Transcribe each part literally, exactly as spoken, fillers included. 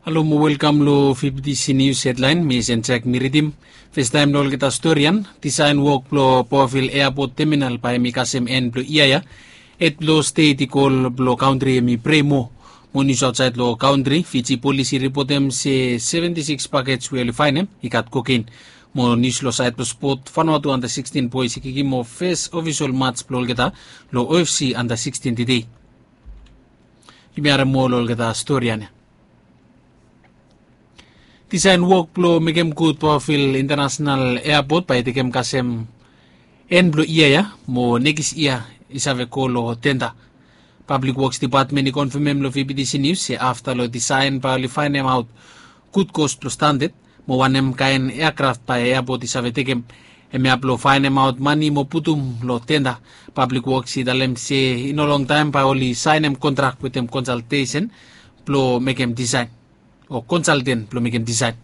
Halo mo welkam long fifty C News hedlaen. Mi Sen Jack mi ridim. Festaem long olgeta stori ya, disaen wok blong Boville Airport Terminal bae hem i kasem en blong yia ya. Hed blong stet i go long kantri hem i prei moa. Mo nius aotsaed long kantri, Fiji polis i ripotem se seventi sikis pakej we oli faenem i gat kokein. Mo nius long saed blong spot, Vanuatu anda sikstin boes i kikim off fes ofisol mats blong olgeta long O F C anda sikstin tede. Yumi harem moa long olgeta stori ya nao. Disaen wok blong mekem gud Boville International Airport bae i tekem kasem en blong yia ya, mo nekis yia i save go long tenda. Pablik Woks Dipatmen i konfamem long V B T C Nius se afta long disaen bae oli faenemaot gud kos blong standad mo wanem kaen eakraft bae eapot i save tekem. Hemia blong faenemaot mane mo putum long tenda. Pablik Woks i talem se i no longtaem bae oli saenem kontrak wetem konsaltesen blong mekem disaen, o konsalten blong mekem disaen.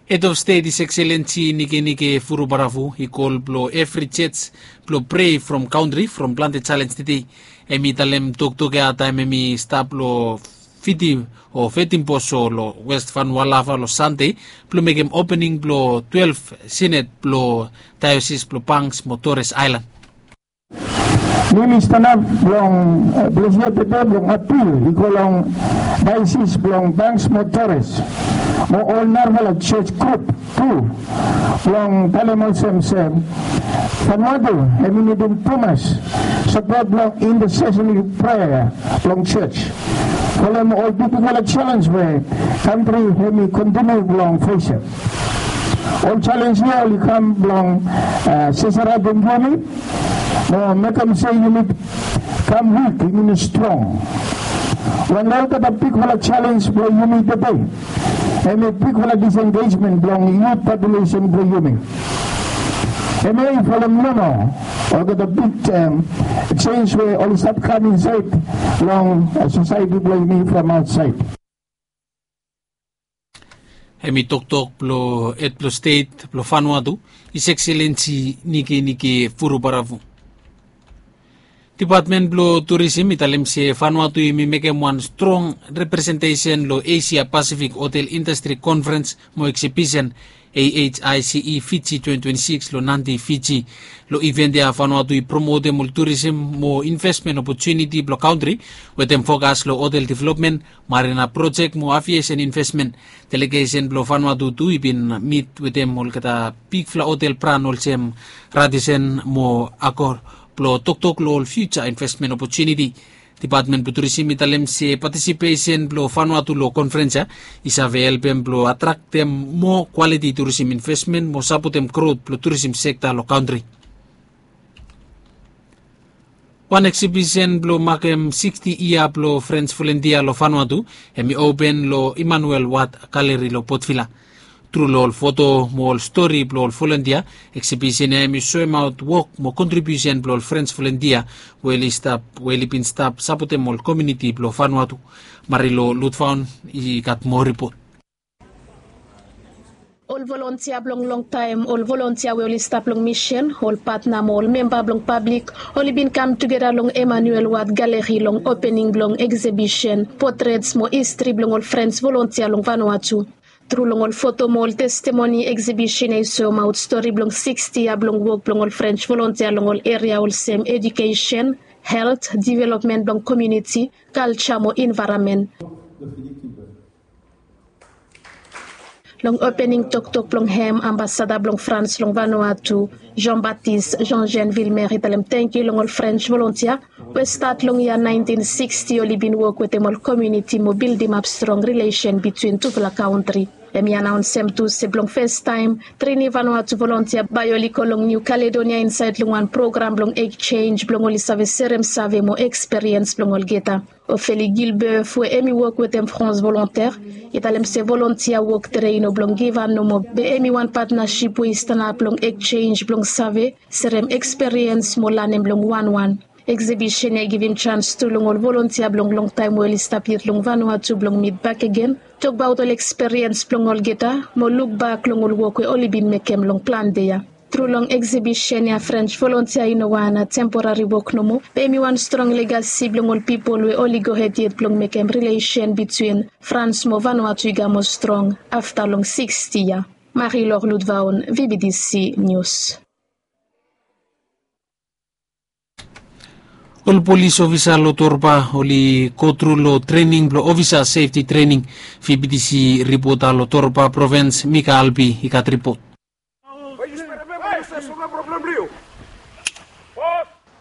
Hed of Stet, His Excellency Nikenike Vurobaravu, i kol blong evri jos blong prei from kantri from plante jalenj tede. Hem i talem toktok ya taem hem i stap long Fiti o Vetimboso long West Vanualava long Sande blong mekem opening blong twelef sined blong daeosis blong Banks mo Torres Aelan. Mi mi stanap blong, eh, ples ya tede blong apil i go long daeosis blong Banks mo Torres mo ol narafala jos grup tu blong talem olsem se Vanuatu hem i nidim tumas sapot blong intercessory prayer blong jos folem ol bigbigfala jalenj we kantri hem i kontiniu blong fesem. Ol jalenj ya oli kam blong, eh, sesaratem yumi mo mekem se yumi kam wik, yumi no strong. Wan olgeta bigfala jalenj blong yumi tede hem i bigfala disengejmen blong yut populesen blong yumi. Hemia i folem nomo olgeta big, em, jenis we oli stap kam insaed long, eh, sosaeti blong yumi from aotsaed. Hem i toktok blong Hed blong Stet blong Vanuatu, His Excellency Nikenike Vurobaravu. Dipatmen blong Turisim i talem se Vanuatu hem i mekem wan strong representesen long Asia Pasifik Hotel Indastri Konferens mo Eksibisen, A H I C E Fiji twenty twenty-six long Nadi, Fiji. Long iven ya Vanuatu i promotem ol turisim mo invesmen opotuniti blong kantri wetem fokas long hotel developmen, marina projek mo aviesen invesmen. Delegesen blong Vanuatu tu i bin mit wetem olgeta bigfala hotel bran olsem Radisson mo Accor blong toktok long ol fiuja invesmen opotuniti. Dipatmen blong Turisim i talem se patisipesen blong Vanuatu long konferens ya i save helpem blong atraktem moa kwaliti turisim invesmen mo sapotem grot blong turisim sekta long kantri. Wan eksibisen blong makem siksti yia blong Frens volentia long Vanuatu hem i open long Emmanuel Ward Gallery long Port Vila. Tru long ol foto mo ol stori blong ol volentia, eksibisen ya hem i soemaot wok mo kontribiusen blong ol Frens volentia we oli stap, we oli bin stap sapotem ol komuniti blong Vanuatu. Marilo Lutfaun i gat moa ripot. Ol volontia blong longtaem, ol volontia we oli stap long misen, ol patna mo ol memba blong pablik oli bin kam tugeta long Emmanuel Ward Gallery long opening blong eksibisen Potrets mo Histri blong ol Frens Volontia long Vanuatu. Tru long ol foto mo ol testimoni, eksibisen ya i soemaot stori blong siksti yia blong wok blong ol Frens Volontia long ol eria olsem edukesen, helt, developmen blong komuniti, kalja mo envaeronmen. Long opening toktok blong hem, ambasada blong Frans long Vanuatu, Jean-Baptiste Jean-Jean Villemer, i talem tangkiu long ol Frens Volontia we stat long yia naentin siksti oli bin wok wetem ol komuniti mo bildimap strong rilesen bitwin tufala kantri. Hem i anaonsem tu se blong fastaem, trini Vanuatu volontia bae oli go long Niu Kaledonia insaed long wan program blong ekjenj blong oli save serem save mo ekspiriens blong olgeta. Ophélie Gilbeuf we hem i wok wetem France Volontaire i talem se volontia wok tede i no blong givhan nomo, be hem i wan patnasip we i stanap long ekjenj blong save, serem ekspiriens mo lanem long wanwan. Eksibisen ya i givim jans tu long ol volontia blong longtaem we oli stap yet long Vanuatu blong mit bakegen, tokbaot ol ekspiriens blong olgeta mo lukbak long ol wok we oli bin mekem long plante ya. Tru long eksibisen ya, Frans volontia i no wan temporari wok nomo, be hem i wan strong legasi blong ol pipol we oli gohed yet blong mekem rilesen bitwin Frans mo Vanuatu i gamo strong afta long siksti yia. Marilor Ludvaon, V B T C News. Ol polis ofisa long Torba oli go tru long trening blong ofisa sefti trening. V B T C ripota long Torba provins, Mika Albi, i gat ripot.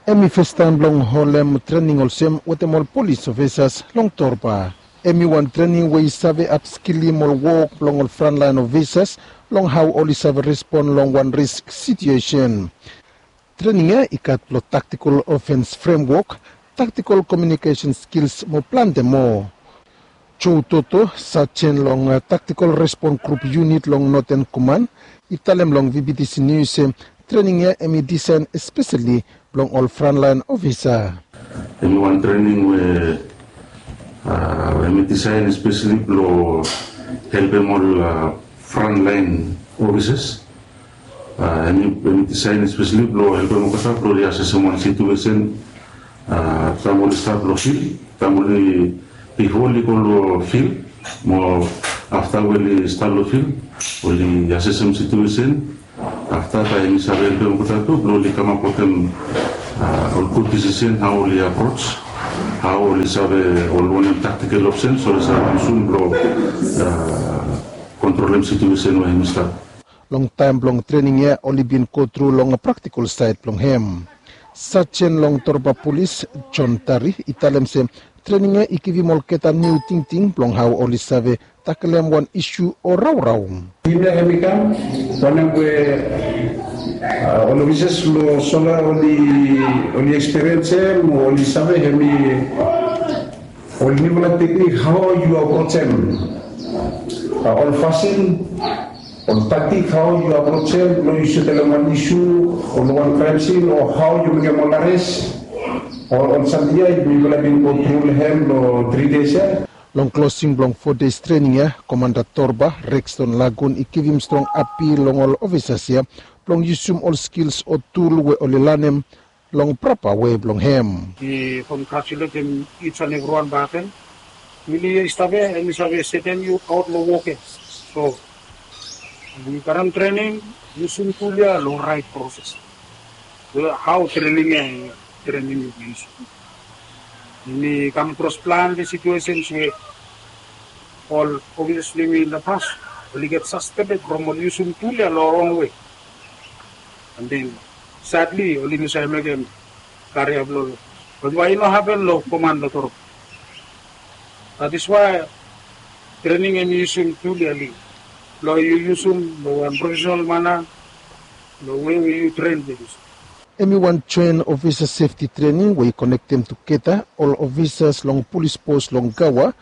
Hem i festaem blong holem trening olsem wetem ol polis ofisas long Torba. Hem i wan trening we i save apskilim ol wok blong ol frontlaen ofisas long hao oli save respon long wan risk situesen. Trening ya i gat blong taktikol ofens fremwok, taktikol komiunikesen skils mo plante moa. Joe Toto, sajen long taktikol respon grup yunit long Noten Koman, i talem long V B T C Nius se trening ya hem i disaen espeseli blong ol frontlaen ofisa. Hem i wan trening we hem i disaen espeseli blong helpem ol frontlaen ofisas. Hem i disaen espeseli blong helpem olgeta blong oli asesem wan situesen taem oli stap long fil, taem oli, bifo oli go long fil mo afta we oli stap long fil, oli asesem situesen. Afta taem hem i save helpem olgeta tu blong oli kamap wetem ol gud disisen hao oli aproj, hao oli save ol wanem taktikel opsen so oli save wan sun blong kontrolem situesen we hem i stap. Long taem blong trening ya oli bin go tru long praktikol saed blong hem. Sajen long Torba Polis, John Tari, i talem se trening ya i givim olgeta niu tingting blong hao oli save takelem wan isu o raorao. Hemia hem i kam wanem we ol ofisas long sola oli ekspiriensem o oli save hem i ol niufala teknik hao yu aprojem ol fasin, ol taktik hao yu aprojem long yu setelem wan isu o long wan kraem sin o hao yu mekem ol ares o ol samting ya mifala bin go tru long hem long tri des ya. Long klosing blong fo des trening ya, Komanda Torba, Rexton Lagun, i givim strong apil long ol ofisas ya blong yusum ol skils o tul we oli lanem long prapa wei blong hem. Mi kongratuletem each and everyone baken. Mili i stap ya, hem i save setem yu aot long wok ya. So yu karem trening, yusum tul ya long raet proses. Hao trening ya, trening yu yusum. Mi kam kros plante situesens we ol ofisas blong yumi in the past oli get sasbended from oli yusum tul ya long rong wei. And then sadly oli no save mekem karia blong ol. Bat wai i no hapen long koman long Torba? That is why trening hem i yusum tul ya long yu yusum long wan profesenal mana long wei we yu tren. Hem i wan joen ofisa sefti trening we i konektem tugeta ol ofisas long polis pos long Gaua,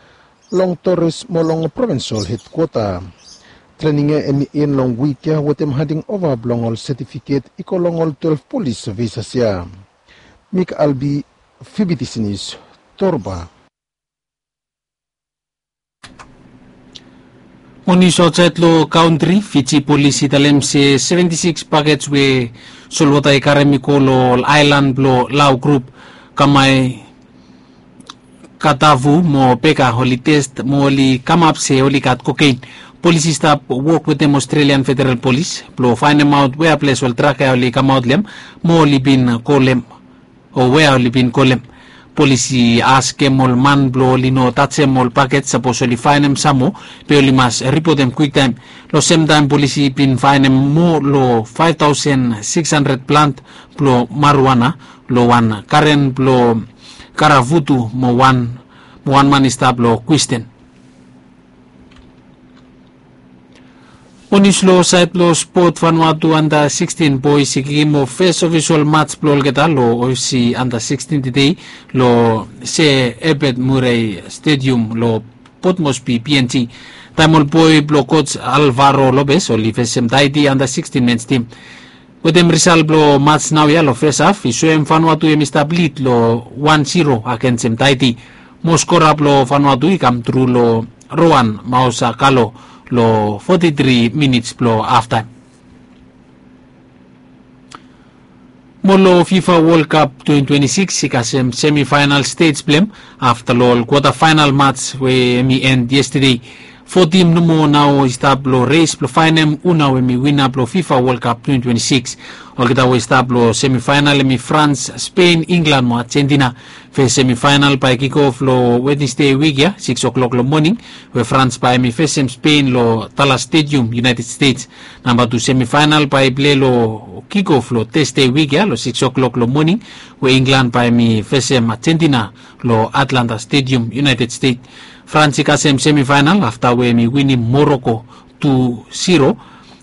long Torres mo long provins ol hedkwota. Trening ya hem i en long wik ya wetem handing ova blong ol setifiket i go long ol twelef polis ofisas ya. Mik Albi, V B T C Nius, Torba. Mo nius aotsaed long kantri, Fiji polis i talem se seventi sikis pakej we solwota i karem i go long ol aelan blong Lau grup, Kamai, Katavu mo Beka, oli tes mo oli kamap se oli gat kokein. Polis i stap wok wetem Australian Federal Polis blong faenemaot wea ples ol trak ya oli kamaot long hem mo oli bin go long hem, o wea oli bin go long hem. Polis i askem ol man blong oli no tajem ol pakej sapos oli faenem sam moa, be oli mas ripotem kwiktaem. Long semtaem polis i bin faenem moa long faef taosen sikis handred plant blong marijuana long wan garen blong Karavutu mo wan, mo wan man i stap long Kwisten. Mo nius long saed blong spot, Vanuatu anda sikstin boes i kikim ol fes ofisol mats blong olgeta long Osi anda sikstin tedei long Se Ebet Murei Stedium long Port Moresby, P N G. Taem ol boe blong koj Alvaro Lopez oli fesem Taiti anda sikstin mens tim. Wetem risal blong mats naoia long fes haf i soem Vanuatu hem i stap lid long wan siro agensem Taiti. Mo skora blong Vanuatu i kam tru long Rowan Mausakalo long foti tri minits blong haftaem. Mo long fifa world cup twenty twenty six i kasem semifainal stej blong hem afta long ol kwata fainal mats we hem i end yestade. Fo tim nomo nao i stap long res blong faenem hu nao hem i winap long fifa world cup twenty twenty six. Olgeta we i stap long semifainal hem i frans, spen, inglan mo argentina. Fes semifainal bae kikof long wednesde wik ya siks o'klok long moning, we frans bae hem i fesem spen long talas stedium united stets. Namba tu semifainal bae i plei long kikof long tesde wik ya long siks o'klok long moning, we inglan bae hem i fesem argentina long atlanta stedium united stets. Frans i kasem semifainal afta we hem i winim moroko tu siro,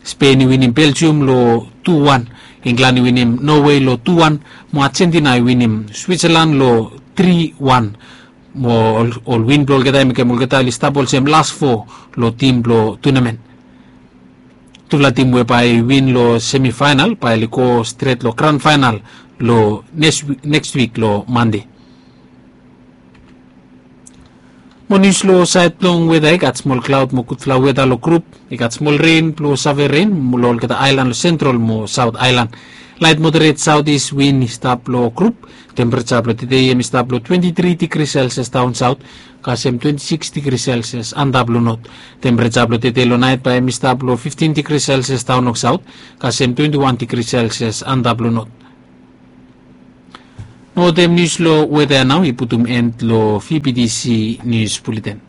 spen i winim beljium long tu wan, inglan i winim nowe long tu wan, mo argentina i winim switsalan long tri wan. Mo ol win blong olgeta i mekem olgeta oli stap olsem las fo long tim blong tunamen. Tufala tim we bae i win long semifainal bae oli go stret long gran fainal long neks wik long mande. Mo nius long saed blong weta i gat smol klaod mo gudfala weta long grup. I gat smol ren blong save ren long olgeta aelan long sentral mo saot aelan. Laet moderet saot is win i stap long grup. Tempereja blong tedei hem i stap long twenti tri digri selsias daon saot, kasem twenti siks digri selsias antap long not. Tempereja blong tedei long naet bae hem i stap long fiftin digri selsias daon long saot, kasem twenti wan digri selsias antap long not. Mo wetem nius long weta ya nao i putum en long vptc nius buleten.